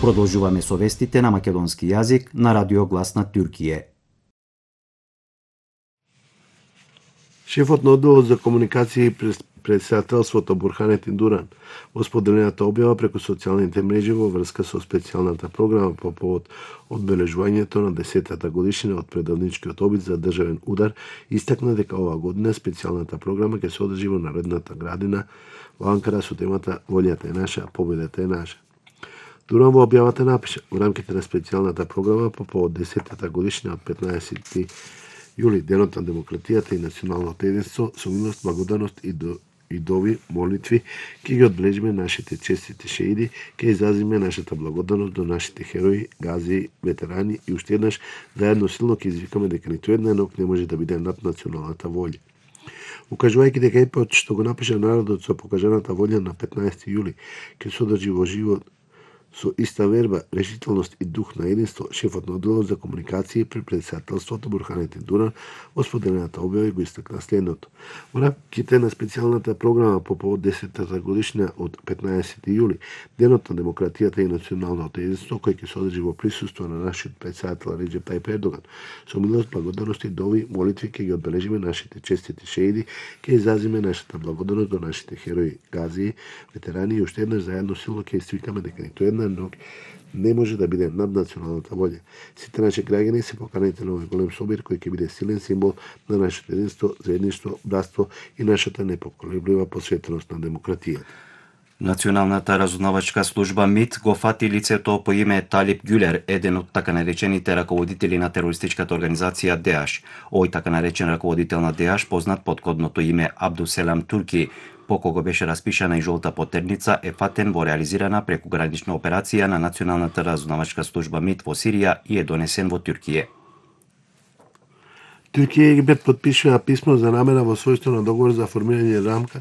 Продолжуваме со вестите на македонски јазик на Радио Глас на Туркије. Шефот на одделот за комуникација и председателството Бурханетин Дуран во споделената објава преку социјалните мрежи во врска со специјалната програма по повод одбележувањето на 10-та годишнина од предавничкиот обид за државен удар, истакна дека оваа година специјалната програма ќе се одржи во Народната градина во Анкара со темата "Волјата е наша, победата е наша". Дуран во објавата напиша: во рамките на специјалната програма по повод 10-та годишнина од 15 јули, денот на демократијата и националното единство, со милост, благодарност и дови, молитви, ќе ги одбележиме нашите честити шеиди, ќе изразиме нашата благодарност до нашите херои, гази, ветерани и уште еднаш заедно силно ќе извикаме дека ниту една ног не може да биде над националната волја. Укажувајќи дека епот што го напиша народот со покажаната волја на 15 јули ќе се одржи во живот со иста верба, решителност и дух на единство, шефот на одделот за комуникација при председателството Бурханетин Дуран во споделената објава го истакна следното. Во рамките на специјалната програма по повод 10-та годишнина од 15 јули, денот на демократијата и националното единство, кој ќе се одржи во присуство на нашиот председател Реџеп Тајип Ердоган, со милост, благодарност и дови, молитви ќе ги одбележиме нашите честити шеиди, ќе изразиме нашата благодарност до нашите херои, гази, ветерани и уште еднаш заедно силно ќе извикаме дека ниту една ног не може да биде над националната волја. Сите наши граѓани се поканети на овој голем собир кој ќе биде силен символ на нашето единство, заедништво, братство и нашата непоколеблива посветеност на демократијата. Националната разузнавачка служба МИТ го фати лицето по име Талип Гюлер, еден од така наречените раководители на терористичката организација ДЕАШ. Овој така наречен раководител на ДЕАШ, познат под кодното име Абдуселам Турки, по кого беше распишана и жолта потерница, е фатен во реализирана прекугранична операција на Националната разузнавачка служба МИТ во Сирија и е донесен во Туркије. Туркија и Египет потпишува писмо за намера во својство на договор за формирање рамка